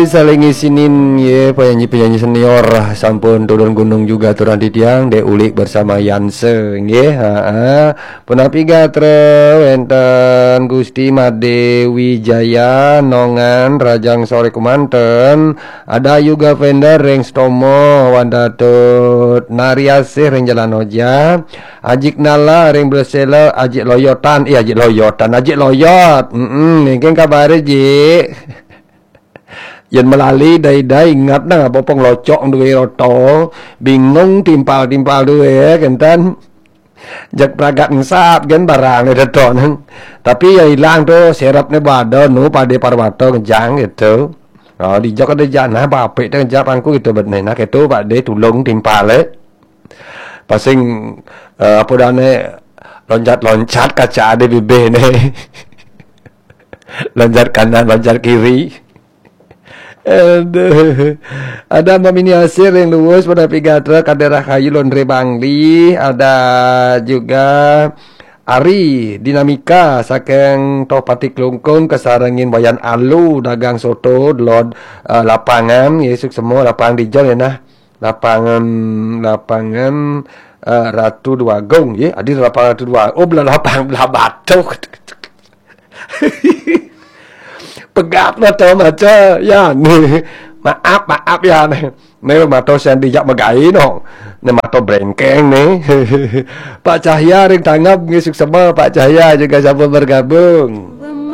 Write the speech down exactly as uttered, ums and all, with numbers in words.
Saling isinin nggih, penyanyi-penyanyi senior sampun turun gunung juga turun titiang, Dek Ulik bersama Yanse nggih. Heeh. Punapi gatra wenten Gusti Made Wijaya Nongan Rajang sore kumanten. Ada juga Fender ring Stomo Wandatut Nariasih ring Jalan Oja. Ajik Nala ring Bresela, Ajik Loyotan, eh Ajik Loyotan, Ajik Loyot. Mm-mm, niki kabare, Jik. Yen melali dai-dai ingat nang apa pong locok duwe roto, bingung timpal-timpal duwe kenten. Jak pragat ngesat gen barang deton. Tapi ya ilang tu serepne bada nu Pade Parwata ngejang gitu. Oh, dijak ada janah bapik tu ngejak pangku gitu bet nah gitu Pade tulung timpale. Pasing eh, apa dane loncat-loncat kaca ada bibih ne. Loncat kanan, loncat kiri. Aduh. Ada Mbak Mini Asir yang luwes pada pigatra kadera kayu laundry Bangli, ada juga Ari Dinamika saking Toh Pati Klungkung kesarengin Wayan Alu dagang soto delod eh, lapangan, ya suksema lapangan dijol ya nah. Lapangan lapangan eh, Ratu Dwagung ya. Adi lapangan Ratu Dwagung. Oh, belah lapangan belah batu. Pegat mata maca ya ni. Maaf, maaf ya ni. Ni mata sing dijak megai no. Ni mata brengkeng ni. Pak Cahya ring tanggap ngisuk sama Pak Cahya juga sama bergabung.